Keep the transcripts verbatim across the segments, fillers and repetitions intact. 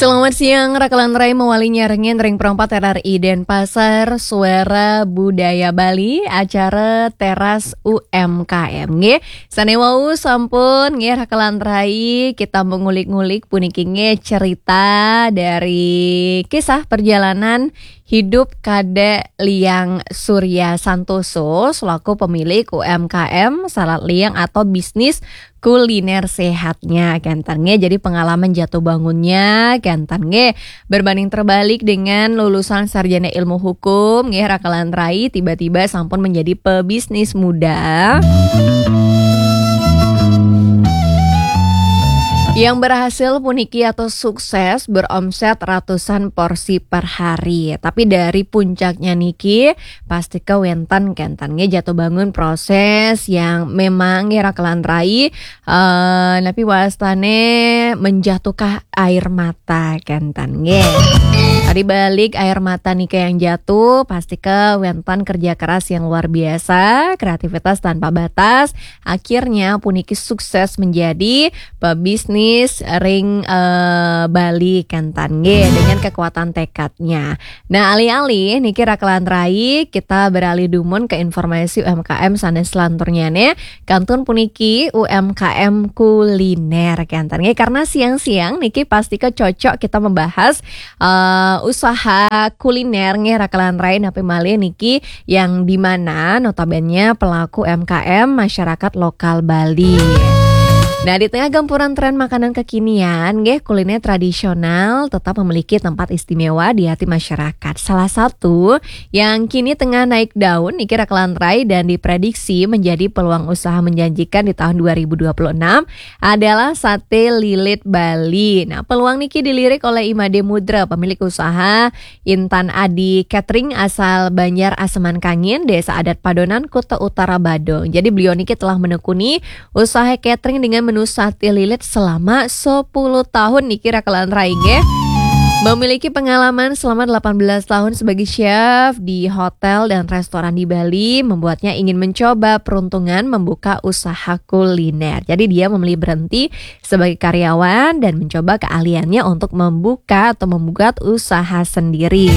Selamat siang, Raka lan Rai, mawali nyarengin ring Pro empat R R I Denpasar, Suara Budaya Bali, acara Teras U M K M. Nggih, sane wau sampun nggih, Raka lan Rai, kita mengulik-ngulik puniki nggih cerita dari kisah perjalanan hidup Kadek Liang Surya Santoso selaku pemilik U M K M Salad Liang atau bisnis kuliner sehatnya, kenten nggih. Jadi pengalaman jatuh bangunnya, kenten nggih. Berbanding terbalik dengan lulusan sarjana ilmu hukum, nggih, Raka lan Rai, tiba-tiba sampun menjadi pebisnis muda yang berhasil puniki atau sukses beromset ratusan porsi per hari. Tapi dari puncaknya niki, pasti kawenten, kenten nggih, jatuh bangun proses yang memang nggih, Raka lan Rai, eh, napi wastane menjatuhkan air mata, kenten nggih. Tadi balik air mata nika yang jatuh, pasti kawenten kerja keras yang luar biasa, kreativitas tanpa batas. Akhirnya puniki sukses menjadi pebisnis ring, eh, Bali, kenten nggih, dengan kekuatan tekadnya. Nah, alih-alih niki, Raka lan Rai, kita beralih dumun ke informasi U M K M sane selanturnyane, kantun puniki U M K M kuliner, kenten nggih. Karena siang-siang niki pasti kecocok kita membahas, eh, usaha kuliner nggih, Raka lan Rai, napi malih niki yang di mana notabene pelaku U M K M masyarakat lokal Bali. Nah, di tengah gempuran tren makanan kekinian, nggih, kuliner tradisional tetap memiliki tempat istimewa di hati masyarakat. Salah satu yang kini tengah naik daun niki, Raka lan Rai, dan diprediksi menjadi peluang usaha menjanjikan di tahun dua ribu dua puluh enam adalah sate lilit Bali. Nah, peluang niki dilirik oleh I Made Mudra, pemilik usaha Intan Adi Catering asal Banjar Aseman Kangin, Desa Adat Padonan, Kuta Utara, Badung. Jadi beliau niki telah menekuni usaha catering dengan menu sate lilit selama sepuluh tahun niki, Raka lan Rai nggih. Memiliki pengalaman selama delapan belas tahun sebagai chef di hotel dan restoran di Bali, membuatnya ingin mencoba peruntungan membuka usaha kuliner. Jadi dia memilih berhenti sebagai karyawan dan mencoba keahliannya untuk membuka atau membuat usaha sendiri.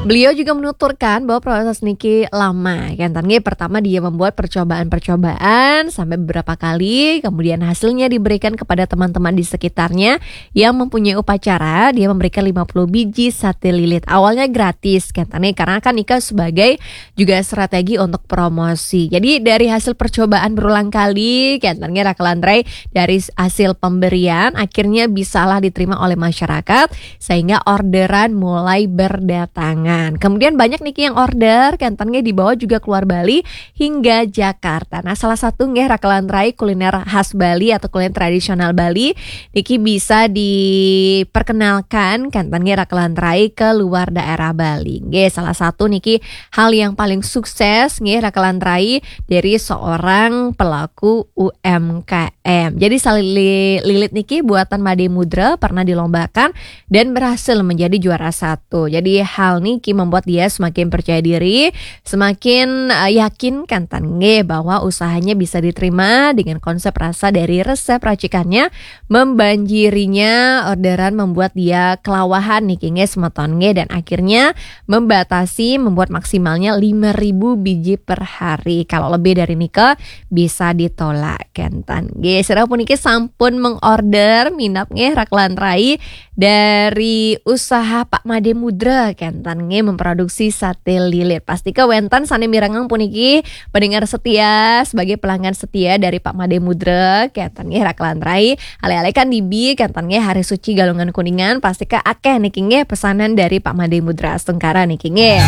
Beliau juga menuturkan bahwa proses niki lama, kenten nggih. Pertama dia membuat percobaan-percobaan sampai beberapa kali, kemudian hasilnya diberikan kepada teman-teman di sekitarnya yang mempunyai upacara. Dia memberikan lima puluh biji sate lilit. Awalnya gratis, kenten nggih, karena kan nika sebagai juga strategi untuk promosi. Jadi dari hasil percobaan berulang kali, kenten nggih, Raka lan Rai, dari s-, hasil pemberian akhirnya bisalah diterima oleh masyarakat sehingga orderan mulai berdatangan. Kemudian banyak niki yang order, kenten nggih, dibawa juga keluar Bali hingga Jakarta. Nah, salah satu nggih, Raka lan Rai, kuliner khas Bali atau kuliner tradisional Bali niki bisa diperkenalkan, kenten nggih, Raka lan Rai, ke luar daerah Bali. Nggih, salah satu niki hal yang paling sukses nggih, Raka lan Rai, dari seorang pelaku U M K M. Jadi sate li-, lilit niki buatan Made Mudra pernah dilombakan dan berhasil menjadi juara satu. Jadi hal niki membuat dia semakin percaya diri, semakin, eh, yakin, kenten nggih, bahwa usahanya bisa diterima dengan konsep rasa dari resep racikannya membanjirinya orderan, membuat dia kelawahan niki nggih, semeton nggih, dan akhirnya membatasi, membuat maksimalnya lima ribu biji per hari. Kalau lebih dari nika bisa ditolak, kenten nggih. Sira puniki sampun mengorder, minab nggih, Raka lan Rai, dari usaha Pak Made Mudra, kenten nggih, memproduksi sate lilit. Pasti kawenten sane mirengang puniki pendengar setia, sebagai pelanggan setia dari Pak Made Mudra, kenten nggih, Raka lan Rai. Alih-alih kan dibi, kenten nggih, Hari Suci Galungan Kuningan, pasti ka akeh niki nggih pesanan dari Pak Made Mudra Astungkara niki nggih.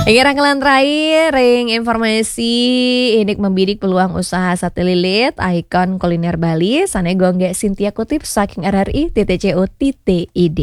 Inggih, Raka lan Rai, ring informasi indik membidik peluang usaha sate lilit, ikon kuliner Bali, sane gonggek Cynthia kutip saking R R I titik C O titik I D.